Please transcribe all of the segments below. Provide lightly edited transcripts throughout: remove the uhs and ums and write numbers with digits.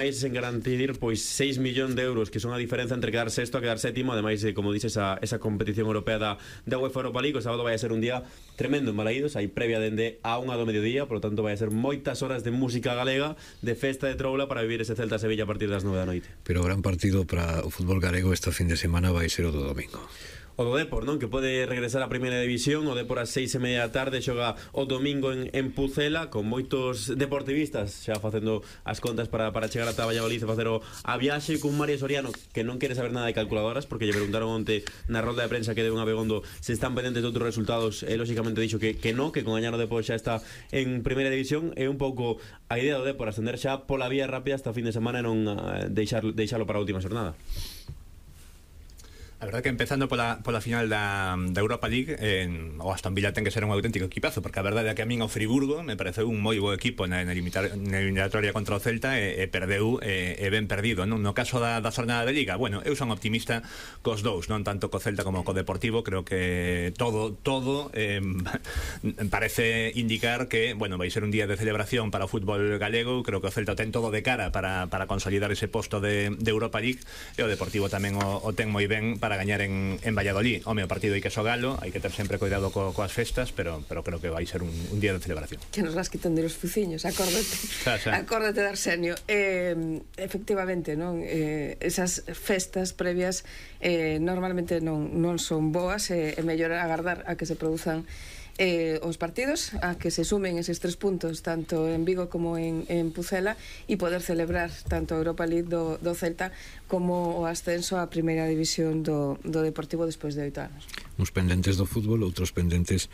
en garantir pois 6 millóns de euros, que son a diferenza entre quedar sexto a quedar sétimo. Ademais, como dices, esa competición europea da UEFA Europa League. O sábado vai a ser un día tremendo en Balaídos. Hai previa dende a 1 do mediodía, por lo tanto vai a ser moitas horas de música galega, de festa de troula, para vivir ese Celta-Sevilla a partir das 9 da noite. Pero o gran partido para o fútbol galego este fin de semana vai ser o do domingo. O do Depor, non? Que pode regresar á primeira división. O Depor ás 6:30 da tarde xoga o domingo en Pucela, con moitos deportivistas xa facendo as contas para chegar ata Valladolid e facer a viaxe, con Mario Soriano, que non quere saber nada de calculadoras, porque lle preguntaron onte na rolda de prensa que deu un Abegondo se están pendentes de outros resultados, e lógicamente dixo que non, que con gañar o Depor xa está en primeira división. É un pouco a idea do Depor, ascender xa pola vía rápida hasta o fin de semana e non deixalo para a última xornada. A verdade que empezando pola final da Europa League, o Aston Villa ten que ser un auténtico equipazo, porque a verdade é que a min o Friburgo me pareceu un moi bo equipo na eliminatoria contra o Celta, e perdeu ben perdido, non? No caso da xornada de Liga, bueno, eu son optimista cos dous, non tanto co Celta como co Deportivo. Creo que todo parece indicar que, bueno, vai ser un día de celebración para o fútbol galego. Creo que o Celta ten todo de cara para consolidar ese posto de Europa League, e o Deportivo tamén o ten moi ben para gañar en Valladolid. Home, o partido hai que xogalo, hai que ter sempre cuidado coas festas, pero creo que vai ser un día de celebración. Que nos vas quitando os fuciños, acórdate de Arsenio. Efectivamente, non? Esas festas previas normalmente non son boas, é mellor agardar a que se produzan os partidos, a que se sumen eses 3 puntos tanto en Vigo como en Pucela, e poder celebrar tanto a Europa League do Celta como o ascenso á primeira división do Deportivo despois de 8 anos. Uns pendentes do fútbol, outros pendentes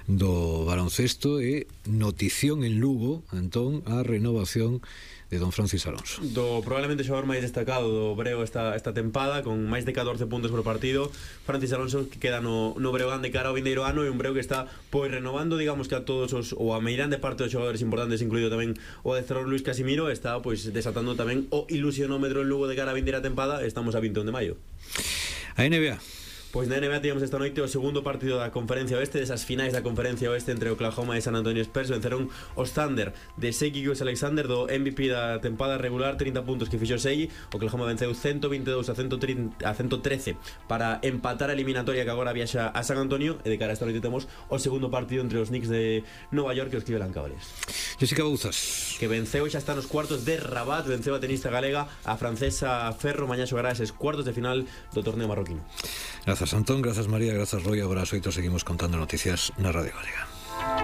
do baloncesto, e notición en Lugo, entón, a renovación de don Francis Alonso, do probablemente xogador máis destacado do Breo esta tempada, con máis de 14 puntos por partido. Francis Alonso, que queda no Breogán de cara ao vindeiro ano, e un Breo que está pois renovando, digamos, que a todos ou a meirande parte dos xogadores importantes, incluído tamén o adestrador Luis Casimiro. Está pois desatando tamén o ilusionómetro en Lugo de cara a vindeira tempada. Estamos a 21 de maio. A NBA. Pois na NBA tivemos esta noite o segundo partido da Conferencia Oeste, desas finais da Conferencia Oeste entre Oklahoma e San Antonio Spurs. Venceron os Thunder de Shai Gilgeous-Alexander, do MVP da tempada regular, 30 puntos que fixo Shai. Oklahoma venceu 122 a 113 para empatar a eliminatoria que agora viaxa a San Antonio. E de cara a esta noite temos o segundo partido entre os Knicks de Nova York e os Cleveland Cavaliers. Jessica Bouzas, que venceu e xa está nos cuartos de Rabat, venceu a tenista galega, a francesa Ferro. Mañá xogará eses cuartos de final do torneo marroquino. Grazas Antón, grazas María, grazas Roy. Agora ás 8 seguimos contando noticias na Radio Galega.